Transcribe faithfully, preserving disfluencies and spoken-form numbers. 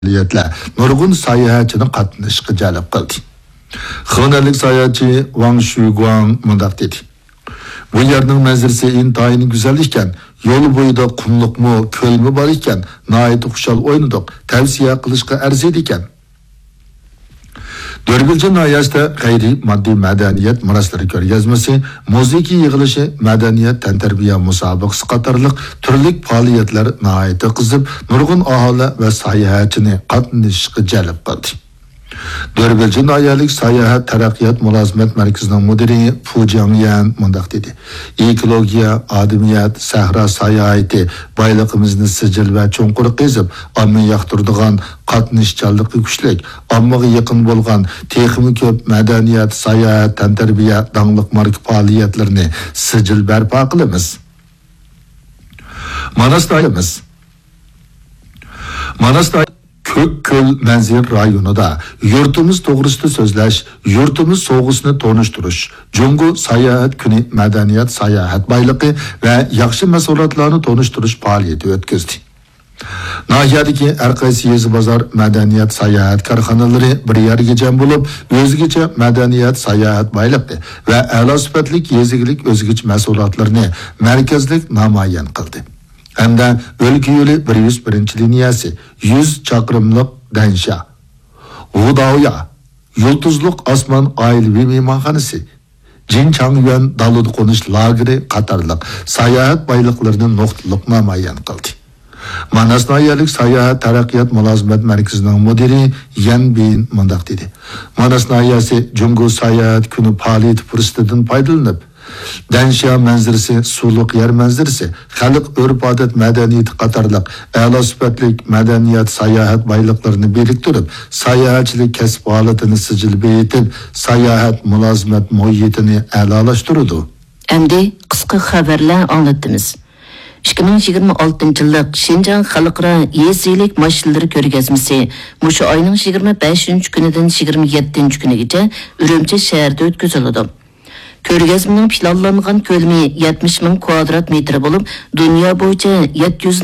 پائالىيەتلەر نۇرغۇن ساياھەتچىنى قاتنىشىشقا جەلپ قىلدى. خېنەنلىك ساياھەتچى ۋاڭ شۈگۇاڭ مۇنداق دېدى: بۇ يەرنىڭ مەنزىرىسى ئىنتايىن گۈزەل ئىكەن، يول بويىدا قۇملۇقمۇ، كۆلمۇ بار ئىكەن، ناھايىتى خۇشال ئوينىدۇق، تەۋسىيە قىلىشقا ئەرزىيدىكەن. دۆربىلجى ناھىيەسىدە غەيرىي ماددىي مەدەنىيەت مىراسلىرى كۆرگەزمىسى، مۇزىكا يىغىلىشى، مەدەنىيەت تەنتەربىيە مۇسابىقىسى قاتارلىق تۈرلۈك پائالىيەتلەر ناھايىتى قىزىپ، نۇرغۇن ئاھالە ۋە ساياھەتچىنى قاتنىشىشقا جەلپ قىلدى. دۆربىلجى ناھىيەلىك ساياھەت تەرەققىيات مۇلازىمەت مەركىزىنىڭ مۇدىرى پۇ جياڭيەن مۇنداق دېدى: ئېكولوگىيە، ئادەمىيەت، سەھرا ساياھىتى بايلىقىمىزنى سىجىل ۋە چوڭقۇر قېزىپ، ئامما ياقتۇرىدىغان، قاتنىشچانلىقى كۈچلۈك، ئاممىغا يېقىن بولغان، تېخىمۇ كۆپ مەدەنىيەت، ساياھەت، تەنتەربىيە، داڭلىق ماركا پائالىيەتلىرىنى سىجىل بەرپا قىلىمىز. ماناس دائىرىمىز. ماناس دائىرە كۆك كۆل مەنزىرە رايونىدا يۇرتىمىز توغرىسىدا سۆزلەش، يۇرتىمىز سوۋغىسىنى تونۇشتۇرۇش، جۇڭگو ساياھەت كۈنى مەدەنىيەت ساياھەت بايلىقى ۋە ياخشى مەھسۇلاتلارنى تونۇشتۇرۇش پائالىيىتى ئۆتكۈزدى. ناھىيەدىكى ھەر قايسى يېزا بازار مەدەنىيەت ساياھەت كارخانىلىرى بىر يەرگە جەم بولۇپ، ئۆزگىچە مەدەنىيەت ساياھەت بايلىقى ۋە ئەلا سۈپەتلىك يېزا ئىگىلىك ئۆزگىچە مەھسۇلاتلىرىنى مەركەزلىك نامايان قىلدى. ھەمدە ئۆلكە يولى بىر يۈز بىرىنچى لىنىيەسى، يۈز چاقىرىملىق دەنشيا، ۋۇداۋيا، يۇلتۇزلۇق ئاسمان ئائىلىۋى مېھمانخانىسى، جىنچاڭيۈەن دالىدا قونۇش لاگېرى قاتارلىق ساياھەت بايلىقلىرىنى نۇقتىلىق نامايان قىلدى. ماناس ناھىيەلىك ساياھەت تەرەققىيات مۇلازىمەت مەركىزىنىڭ مۇدىرى يەن بىن مۇنداق دېدى: ماناس ناھىيەسى جۇڭگو ساياھەت كۈنى پائالىيىتى پۇرسىتىدىن پايدىلىنىپ، دەنشيا مەنزىرىسى، سۇلۇق يەر مەنزىرىسى، خەلق ئۆرپ-ئادەت مەدەنىيىتى قاتارلىق ئەلا سۈپەتلىك مەدەنىيەت ساياھەت بايلىقلىرىنى بىرىكتۈرۈپ، ساياھەتچىلىك كەسىپ ھالىتىنى سىجىل بېيىتىپ، ساياھەت مۇلازىمەت مۇھىتىنى ئەلالاشتۇرىدۇ. ئەمدى قىسقا خەۋەرلەر ئاڭلىتىمىز. ئىككى مىڭ يىگىرمە ئالتىنچى يىللىق شىنجاڭ خەلقئارا يېزا ئىگىلىك ماشىنىلىرى كۆرگەزمىسى مۇشۇ ئاينىڭ يىگىرمە بەشىنچى كۈنىدىن يىگىرمە يەتتىنچى كۈنىگىچە ئۈرۈمچى شەھىرىدە ئۆتكۈزۈلىدۇ. كۆرگەزمىنىڭ پىلانلانغان كۆلىمى يەتمىش مىڭ كۋادرات مېتىر بولۇپ، دۇنيا بويىچە يەتتە يۈز